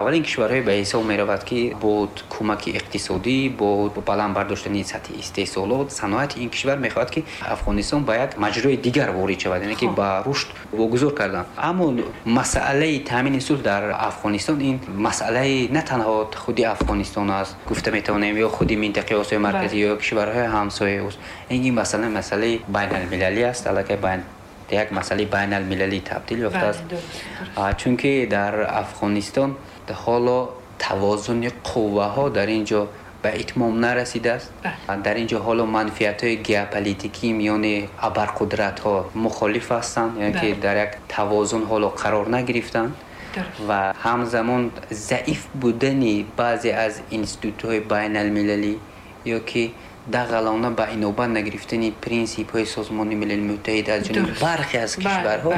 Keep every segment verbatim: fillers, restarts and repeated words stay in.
Аввалин кишварҳое ба ҳисоб меравад, ки бо кӯмаки иқтисодӣ, бо баланд бардоштани сатҳи истеҳсолот, саноати ин кишвар мехоҳад, ки Афғонистон ба як маҷрои дигар ворид шавад, яъне ки ба рушд вогузор кардан. Аммо масъалаи таъмини сулҳ дар Афғонистон ин масъалаи на танҳо худи Афғонистон аст, гуфта метавонем, ё худи минтақаи Осиёи Марказӣ ё кишварҳои ҳамсояи ӯст. Ин масъала масъалаи байналмилалӣ аст, аллакай байн як масъалаи байналмилалӣ табдил ёфтааст, чунки дар Афғонистон ҳоло тавозуни қувваҳо дар ин ҷо ба итмом нарасидааст. Дар ин ҷо ҳоло манфиатҳои геополитикӣ миёни абарқудратҳо мухолиф ҳастанд, яъне ки дар як тавозун ҳоло қарор нагирифтанд ва ҳамзамон заиф будани баъзе аз институтҳои байналмилалӣ ё ки дағалона ба инобат нагирифтани принсипҳои Созмони Милали Муттаҳид аз ҷониби бархе аз кишварҳо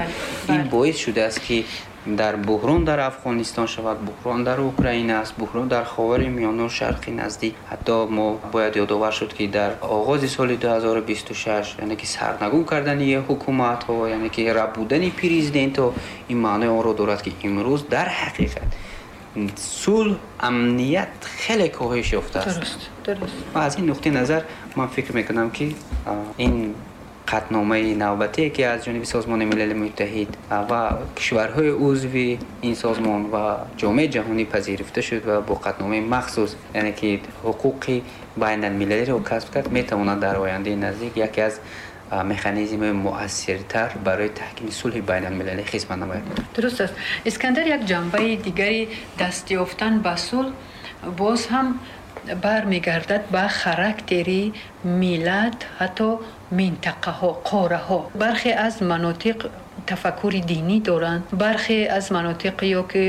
ин боис шудааст, ки дар буҳрон дар Афғонистон шавад, буҳрон дар Украина аст, буҳрон дар Ховари Миёна ва Шарқи Наздик. Ҳатто мо бояд ёдовар шуд, ки дар оғози соли ду ҳазору бисту шаш, яъне ки сарнагун кардани ҳукуматҳо, яъне ки рабудани президентҳо, ин маънои онро дорад, ки имрӯз дар ҳақиқат сулҳ, амният хеле коҳиш ёфтааст. Дуруст, дуруст. Ва аз ин нуқтаи назар ман фикр мекунам, ки ин қатъномаи навбатие, ки аз ҷониби Созмони Милали Муттаҳид ва кишварҳои узви ин созмон ва ҷомеаи ҷаҳонӣ пазируфта шуд ва бо қатъномаи махсус, яъне ки ҳуқуқи байналмилалиро касб кард, метавонад дар ояндаи наздик яке аз механизмҳои муассиртар барои таҳкими сулҳи байналмилалӣ хизмат намояд. Дуруст аст. Искандар, як ҷанбаи дигари даст ёфтан ба сулҳ боз ҳам бармегардад ба характери миллат, ҳатто минтақаҳо, қораҳо. Бархе аз манотиқ тафаккури динӣ доранд, бархе аз манотиқ ё ки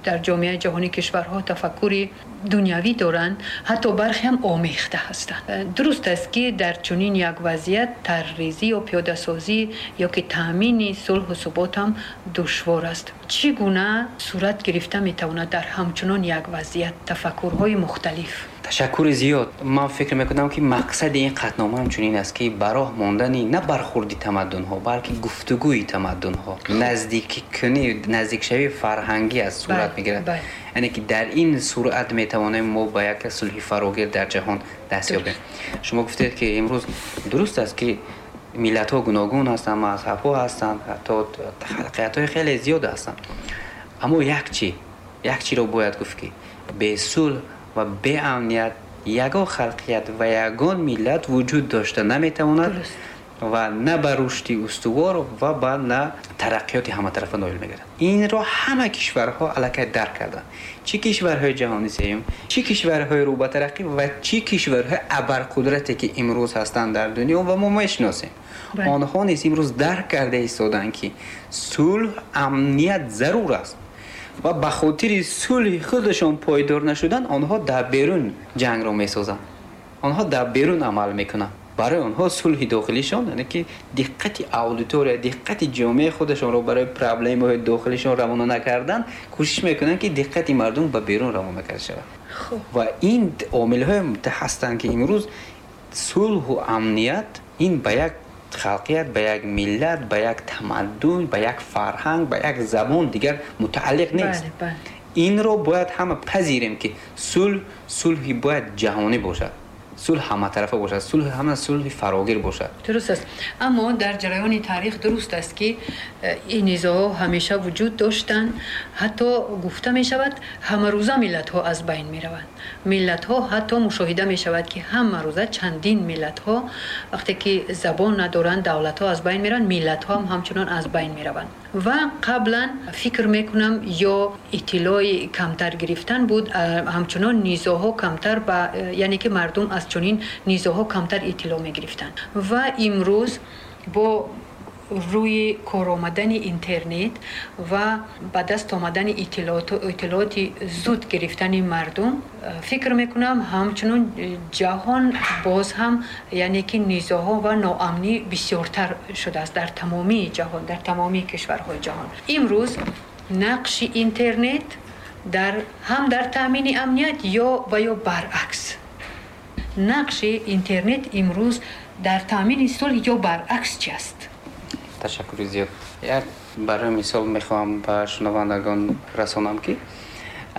дар ҷомеаи ҷаҳонӣ кишварҳо тафаккури дунявӣ доранд, ҳатто бархе ҳам омехта ҳастанд. Дуруст аст, ки дар чунин як вазъият тарҳрезӣ ё пиёдасозӣ ё ки таъмини сулҳу субот ҳам душвор аст. Чӣ гуна сурат гирифта метавонад дар ҳамчунон як вазъият тафаккурҳои мухталиф? Ташаккури зиёд. Ман фикр мекунам, ки мақсади ин қатънома ҳамчунин аст, ки ба роҳ мондани на бархурди тамаддунҳо, балки гуфтугӯи тамаддунҳо, наздиккунӣ, наздикшавии фарҳангӣ аз сурат мегирад. Яъне ки дар ин суръат метавонем мо ба як сулҳи фарогир дар ҷаҳон даст ёбем. Шумо гуфтед, ки имрӯз дуруст аст, ки миллатҳо гуногун ҳастанд, мазҳабҳо ҳастанд, ҳатто халқиятҳои хеле зиёд ҳастанд. Аммо як чӣ, як чиро бояд гуфт, ки бе сулҳ ва беамният ягон халқият ва ягон миллат вуҷуд дошта наметавонад ва на ба рушди устувор ва ба на тараққиёти ҳаматарафа ноил мегардад. Инро ҳама кишварҳо аллакай дарк карданд. Чӣ кишварҳои ҷаҳони сеюм, чӣ кишварҳои рӯ ба тараққӣ ва чӣ кишварҳои абарқудрате, ки имрӯз ҳастанд дар дунё ва мо мешиносем. Онҳо низ имрӯз дарк карда истоданд, ки сулҳ, амният зарур аст ва ба хотири сулҳи худашон пойдор нашудан онҳо дар берун ҷангро месозанд, онҳо дар берун амал мекунанд. Барои онҳо сулҳи дохилишон, яъне ки диққати аудитория, диққати ҷомеаи худашонро барои проблемаҳои дохилишон равона накардан, кӯшиш мекунанд, ки диққати мардум ба берун равона карда шавад. Ва ин омилҳое ҳастанд, ки имрӯз сулҳу амният ин ба як халқият, ба як миллат, ба як тамаддун, ба як фарҳанг, ба як забон дигар мутааллиқ нест. Инро бояд ҳама пазирем, ки сулҳ сулҳи бояд ҷаҳонӣ бошад, сулҳ ҳаматарафа бошад, сулҳ ҳама сулҳи фарогир бошад. Дуруст аст. Аммо дар ҷараёни таърих дуруст аст, ки ин низоъҳо ҳамеша вуҷуд доштанд, ҳатто гуфта мешавад, ҳамарӯза миллатҳо аз байн мераванд. Миллатҳо ҳатто мушоҳида мешавад, ки ҳамарӯза чандин миллатҳо вақте ки забон надоранд, давлатҳо аз байн мераванд, миллатҳо ҳам ҳамчунон аз байн мераванд. Ва қаблан фикр мекунам, ё иттилои камтар гирифтан буд, ҳамчунон низоъҳо камтар ба, яъне ки мардум аз чунин низоъҳо камтар иттилоъ мегирифтанд. Ва имрӯз бо рӯи кор омадани интернет ва ба даст омадани иттилооти зуд гирифтани мардум, фикр мекунам, ҳамчунон ҷаҳон боз ҳам, яъне ки низоъҳо ва ноамнӣ бисёртар шудааст дар тамомии ҷаҳон, дар тамомии кишварҳои ҷаҳон. Имрӯз нақши интернет дар ҳам дар таъмини амният ё ва ё баръакс, нақши интернет имрӯз дар таъмини сулҳ ё баръакс чи аст? Ташаккури зиёд. Як барои мисол мехоҳам ба шунавандагон расонам, ки